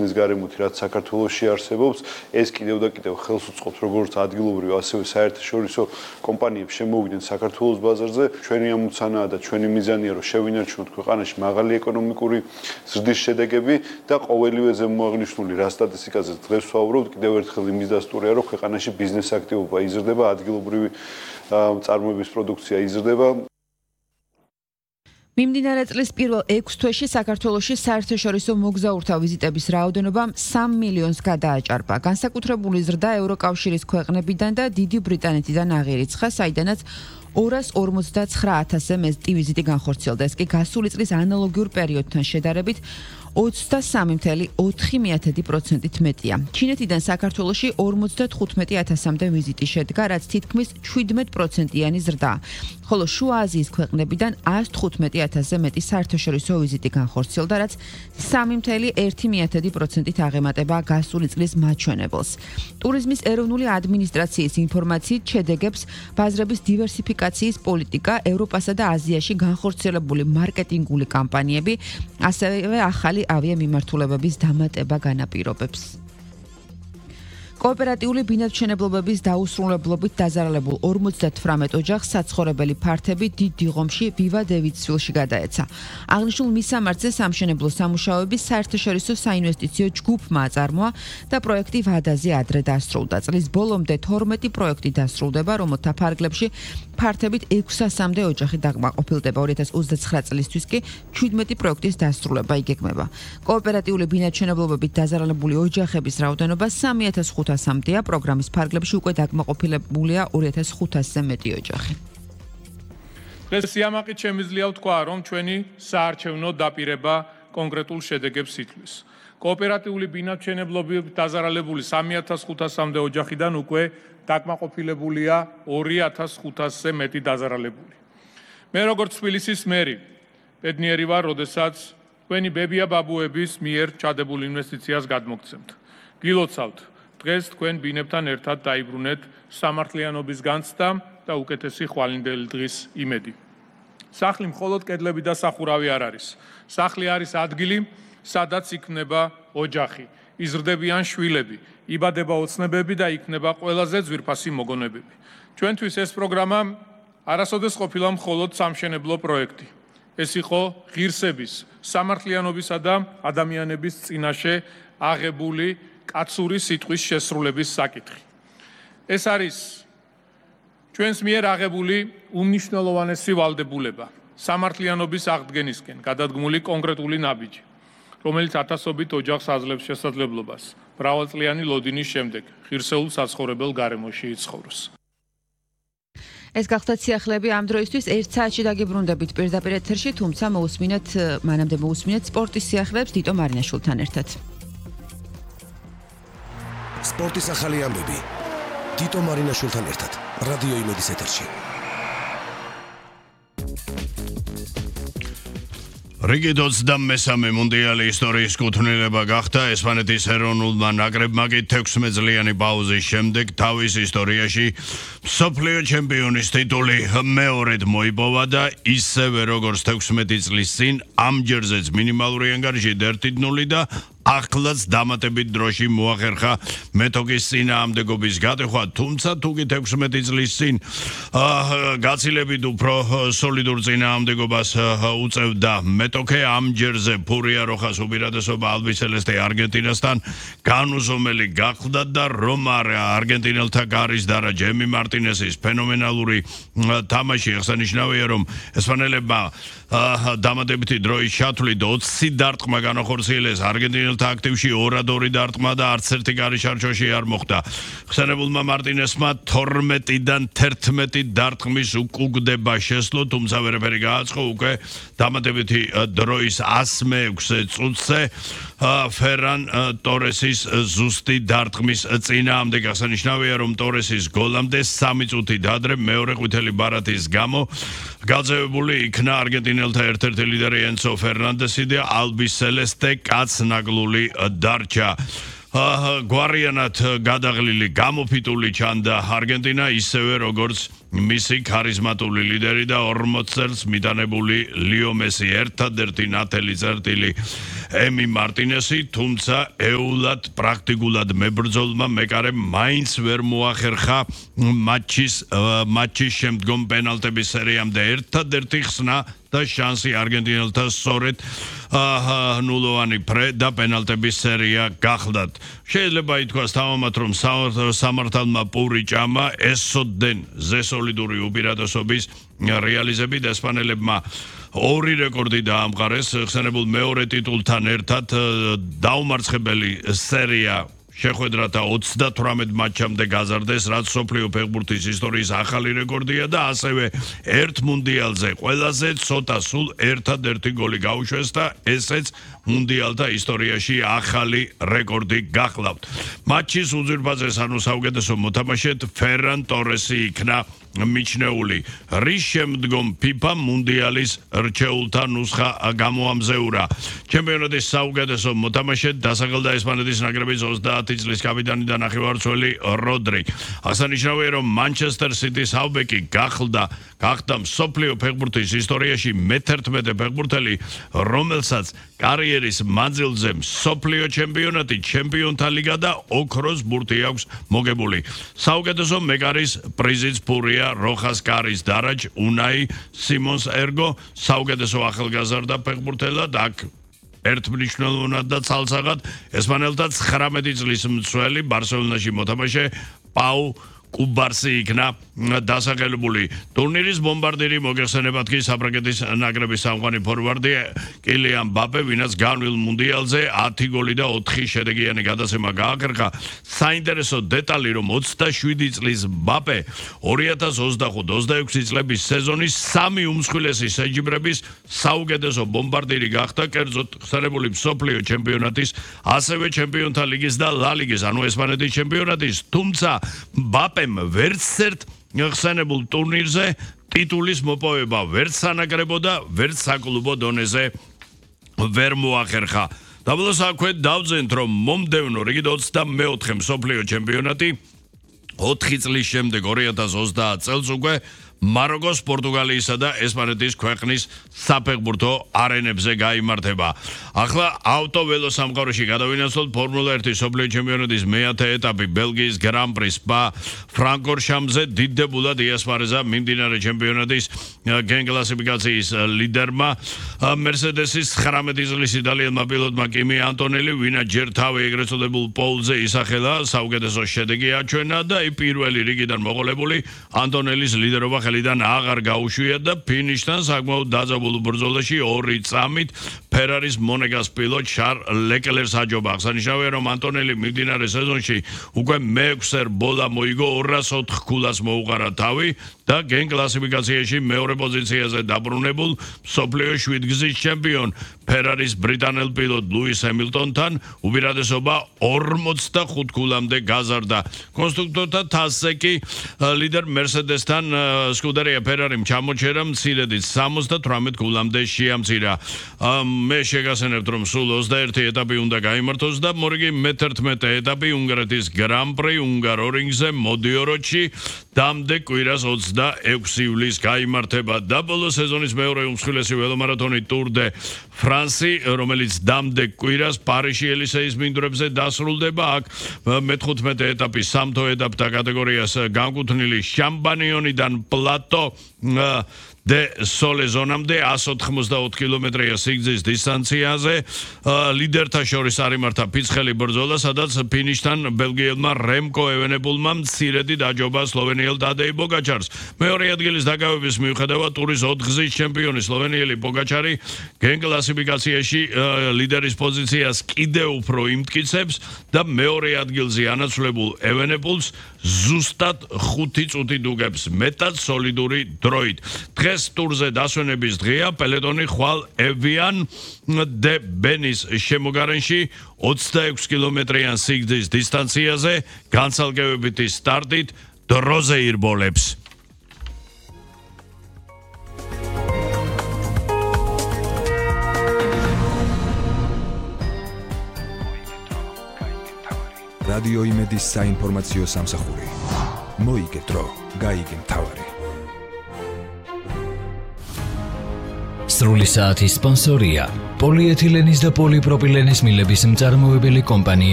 ის გარემოთი რაც საქართველოში არსებობს, ეს კიდევ და კიდევ ხელს უწყობს როგორც ადგილობრივ, ასევე საერთაშორისო კომპანიებს შემოვიდნენ საქართველოს ბაზარზე. ჩვენი ამოცანაა და ჩვენი მიზანია, რომ შევინარჩუნოთ ქვეყანაში მაღალი ეკონომიკური ზრდის შედეგები და ყოველივე ზემოაღნიშნული რა სტატისტიკაზე დღეს ვსაუბრობთ, კიდევ ერთხელ იმის დასტურია, რომ ქვეყანაში ბიზნეს აქტივობა იზრდება, ადგილობრივი წარმოების პროდუქცია იზრდება. მიმდინარე წლის პირველ 6 თვეში საქართველოში საერთაშორისო მოგზაურთა ვიზიტების რაოდენობა 3 მილიონს გადააჭარბა. განსაკუთრებული ზრდა ევროკავშირის ქვეყნებიდან და დიდი ბრიტანეთიდან აღირიცხა, საიდანაც 259,000-ზე მეტი ვიზიტი განხორციელდა. ეს კი გასული წლის ანალოგიურ პერიოდთან შედარებით 23,4%-ით მეტია. ჩინეთიდან საქართველოში 55,000-მდე ვიზიტი შედგა, რაც თითქმის 17%-იანი ზრდაა. ხოლო შუა აზიის ქვეყნებიდან 115,000-ზე მეტი საერთაშორისო ვიზიტი განხორციელდა, რაც 3,1%-ით აღემატება გასული წლის მაჩვენებელს. ტურიზმის ეროვნული ადმინისტრაციის ინფორმაციით შედეგებს ბაზრების დივერსიფიკაციის პოლიტიკა, ევროპასა და აზიაში განხორციელებული მარკეტინგული კამპანიები, ასევე ახალი ავიამიმართულებების დამატება განაპირობებს. კოოპერატიული ბინადმშენებლობების დაუსრულებლობით დაზარალებულ 58 ოჯახს საცხოვრებელი ფართები დიდ დიღომში ვივა დევიდსვილში გადაეცა. აღნიშნულ მისამართზე სამშენებლო სამუშაოების საერთაშორისო საინვესტიციო ჯგუფმა აწარმოა და პროექტი ვადაზე ადრე დასრულდა. წლის ბოლომდე 12 პროექტი დასრულდება, რომელთა ფარგლებში ფართებით 600-მდე ოჯახი დაკმაყოფილდება. 2029 წლისთვის კი 17 პროექტის დასრულება იგეგმება. კოოპერატიული ბინადმშენებლობებით დაზარალებული ოჯახების რაოდენობა 3,500-მდეა, პროგრამის ფარგლებში უკვე დაკმაყოფილებულია 2,500-ზე მეტი ოჯახი. დღეს სიამაყით შემიძლია ვთქვა, რომ ჩვენი საარჩევნო დაპირება კონკრეტულ შედეგებს ითვლის. კოოპერატიული ბინადმშენებლობით დაზარალებული 3,500-მდე ოჯახიდან უკვე დაკმაყოფილებულია 2,500-ზე მეტი დაზარალებული. მე როგორც თბილისის მერი ბედნიერი ვარ, როდესაც თქვენი ბებია-ბაბუების მიერ ჩადებულ ინვესტიციას გადმოგცემთ. გილოცავთ, დღეს თქვენ ბინებთან ერთად დაიბრუნეთ სამართლიანობის განცდა და უკეთესი ხვალინდელი დღის იმედი. სახლი მხოლოდ კედლები და სახურავი არ არის. სახლი არის ადგილი, სადაც იქნება ოჯახი, იზრდებიან შვილები, იბადება ოცნებები და იქნება ყველაზე ძვირფასი მოგონებები. ჩვენთვის ეს პროგრამა არასოდეს ყოფილა მხოლოდ სამშენებლო პროექტი. ეს იყო ღირსების, სამართლიანობისა და ადამიანების წინაშე აღებული კაცური სიტყვის შესრულების საკითხი. ეს არის ჩვენს მიერ აღებული უმნიშვნელოვანესი ვალდებულება, სამართლიანობის აღდგენისკენ გადადგმული კონკრეტული ნაბიჯი, რომელიც ათასობით ოჯახს აძლევს შესაძლებლობას მრავალწლიანი ლოდინის შემდეგ ღირსეულ საცხოვრებელ გარემოში იცხოვროს. ეს გახლდათ სიახლეები ამ დროისთვის 1 საათში დაგიბრუნდებით პირდაპირ ეთერში, თუმცა მანამდე მოусმინეთ სპორტის სიახლეებს დიტო მარინაშვილთან ერთად. სპორტის ახალი ამბები დიტო მარინაშვილთან ერთად რადიო იმედის ეთერში. რიგი 23 მუნდიალი ისტორიის კუთვნილება გახდა ესპანეთის ეროვნულმა ნაკრებმა კი 16 წლიანი პაუზის შემდეგ თავის ისტორიაში მსოფლიო ჩემპიონის ტიტული მეორედ მოიპოვა და ისევე როგორც 16 წლის წინ ამჯერზეც მინიმალური ანგარიშით 1-0 და ახლაც დამატებით დროში მოახერხა მეტოქის წინააღმდეგობის გატეხვა, თუმცა თუკი 16 წლის წინ გაცილებით უფრო სოლიდურ წინააღმდეგობას უწევდა მეტოქე, ამჯერზე ფურია როხას უპირატესობა ალბისელესტე არგენტინასთან განუზომელი გახდა და რომ არგენტინელთა გარის დარა ჯემი მარტინესის ფენომენალური თამაში აღსანიშნავია, რომ ესპანელებმა დამატებითი დროის ჩათვლით 20 დარტყმა განახორციელეს არგენტინელთა აქტივში 2-2 დარტყმა და არც ერთი გარიშარჩოში არ მოხდა. ხსენებულმა მარტინესმა 12-დან 11 დარტყმის უკუგდება შესძლო, თუმცა ვერაფერი გააწყო უკვე დამატებითი დროის 106 წუთზე ფერან ტორესის ზუსტი დარტყმის წინააღმდეგ. აღსანიშნავია, რომ ტორესის გოლამდე 3 წუთით ადრე მეორე ყვითელი ბარათის გამო გაძევებული იქნა არგენტინელთა ერთ-ერთი ლიდერი ენცო ფერნანდესი და ალბისელესტე კაცნაგლული დარჩა. გვარიანად გადაღლილი გამოფიტული ჩანდა არგენტინა, ისევე როგორც მისი ქარიზმატული ლიდერი და 40 წელს მიტანებული ლიო მესი, ერთადერთი ნათელი წერტილი ემი მარტინესი, თუმცა ეულად პრაქტიკულად მებრძოლმა მეკარემ მაინც ვერ მოახერხა მატჩის შემდგომ პენალტების სერიამდე ერთადერთი ხსნა და შანსი არგენტინელთა სწორედ ნულოვანი ფრე და პენალტების სერია გახლდათ. შეიძლება ითქვას თავამად, რომ სამართალმა პური ჭამა ესოდენ ზესოლიდური უპირატესობის რეალიზებით ესპანელებმა ორი რეკორდი დაამყარეს ხსენებულ მეორე ტიტულთან ერთად დაუმარცხებელი სერია შეხვედრათა 38 მატჩამდე გაზარდეს, რაც სოფლიო ფეხბურთის ისტორიის ახალი რეკორდია და ასევე ერთ მუნდიალზე ყველაზე ცოტა სულ ერთადერთი გოლი გაუშვეს და ესეც მუნდიალთა ისტორიაში ახალი რეკორდი გახლავთ. მატჩის უძვირფასეს ანუ საუკეთესო მოთამაშედ ფერან ტორესი იქნა მიჩნეული. რის შემდგომ FIFA მუნდიალის რჩეულთა ნუსხა გამოამზეურა. ჩემპიონატის საუკეთესო მოთამაშედ დასახელდა ესპანეთის ნაკრების 30 წლის კაპიტანი და ნახევარმცველი როდრი. აღსანიშნავია, რომ მანჩესტერ სიტის ჰალბეკი გახდა მსოფლიო ფეხბურთის ისტორიაში მე-11 ფეხბურთელი, რომელსაც კარიერის მანძილზე მსოფლიო ჩემპიონატი, ჩემპიონთა ლიგა და ოქროს ბურთი აქვს მოგებული. საუკეთესო მეკარის პრიზიც ფურია როხას კარის დარაჯ უნაი სიმონს ერგო, საუკეთესო ახალგაზრდა ფეხბურთელად აქ ერთმნიშვნელოვნად და ცალსაღად ესპანელთა 19 წლის მცველი ბარსელონაში მოთამაშე პაუ კუბარსი იქნა დასახელებული. ტურნირის ბომბარდირი მოგეხსენებათ კი საფრანგეთის ნაკრების სამყარო ფორვარდი კილიან მბაპე, ვინაც განვლილ მუნდიალზე 10 გოლი და 4 შედეგიანი გადაცემა გააკრა. საინტერესო დეტალი, რომ 27 წლის მბაპე 2025-26 წლების სეზონის 3 უმსხვილესი შეჯიბრების საუკეთესო ბომბარდირი გახდა, კერძოდ ხსენებული მსოფლიო ჩემპიონატის, ასევე ჩემპიონთა ლიგის და ლა ლიგის, ანუ ესპანეთის ჩემპიონატის, თუმცა მბაპემ ვერც ერთ ხსენებულ ტურნირზე ტიტულის მოპოვება ვერც სანაკრებო და ვერც საკლუბო დონეზე ვერ მოახერხა. დაბლოს აქვე დავძენთ, რომ მომდევნო რიგით 24 მსოფლიო ჩემპიონატი 4 წლის შემდეგ 2030 წელს უკვე მაროკოს, პორტუგალიისა და ესპანეთის ქვეყნის საფეხბურთო არენებზე გაიმართება. ახლა ავტოველო სამყაროში გადავინაცვლოთ ფორმულა 1 მსოფლიო ჩემპიონატის მე-10 ეტაპი ბელგიის გრან-პრი სპა ფრანკორშამზე დიდებულად იასპარეზა მიმდინარე ჩემპიონატის გენ კლასიფიკაციის ლიდერმა მერსედესის 19 წლის იტალიელმა პილოტმა კიმი ანტონელი, ვინაც ჯერ თავი ეგრეთ წოდებულ პოლზე ისახელა, საუკეთესო შედეგი აჩვენა და პირველი რიგიდან მოყოლებული ანტონელის ლიდერობა ხელიდან აღარ გაუშვია და ფინიშთან საკმაოდ დაძაბულ ბრძოლაში 2 წამით ფერარის მონეგას პილოტ შარ ლეკლერს აჯობა. აღსანიშნავია, რომ ანტონელი მიმდინარე სეზონში უკვე მე-6 ბოლა მოიგო, 204 ქულას მოუყარა თავი და გენ კლასიფიკაციაში მეორე პოზიციაზე დაბრუნებულ მსოფლიო 7 გზის ჩემპიონ ფერარის ბრიტანელ პილოტ ლუის ჰემილტონთან უპირატესობა 45 ქულამდე გაზარდა. კონსტრუქტორთა თასზე კი ლიდერ მერსედესთან სკუდერია ფერარიმ ჩამოჩერა მცირედით 78 ქულამდე შეამცირა. მე შეგახსენებთ, რომ სულ 21 ეტაპი უნდა გაიმართოს და მორიგი მე-11 ეტაპი უნგრეთის გრან-პრი უნგარორინგზე მოდიოროში დამდე კვირას 26 ივლისს გაიმართება და ბოლო სეზონის მეორე უმსხვილესი ველომარათონი ტურ დე ფრანსი, რომელიც დამდე კვირას პარიში ელისეის მინდვრებზე დასრულდება. აქ მე-15 ეტაპი სამთო ეტაპთა კატეგორიას განკუთვნილი შამბანიონიდან პლატო de sole ზონამდე 184 კილომეტრია სიგრძის დისტანციაზე ლიდერთა შორის არიმართა ფიცხელი ბრძოლა, სადაც ფინიშთან ბელგიელმა რემკო ევენებულმა მცირედი დაჯობა სლოვენიელ დადეი პოგაჩარს. მეორე ადგილის დაკავების მიუხედავად ტურის 4 გზის ჩემპიონი სლოვენიელი პოგაჩარი გენ კლასიფიკაციაში ლიდერის პოზიციას კიდევ უფრო იმტკიცებს და მეორე ადგილზე ანაცვლებულ ევენებულს ზუსტად 5 წუთი დუგებს მეტად სოლიდური დროით. დღეს ტურზე დასვენების დღეა, პელეტონი ხვალ ევიან დე ბენის შემოგარენში 26 კილომეტრიან სიგრძის დისტანციაზე განცალკევებითი სტარტით დროზე ირბოლებს. რადიო იმედის საინფორმაციო სამსახური. მოიგე დრო, გაიგე მთავარი. სრული საათის სპონსორია პოლიეთილენის და პოლიპროპილენის მილების მწარმოებელი კომპანია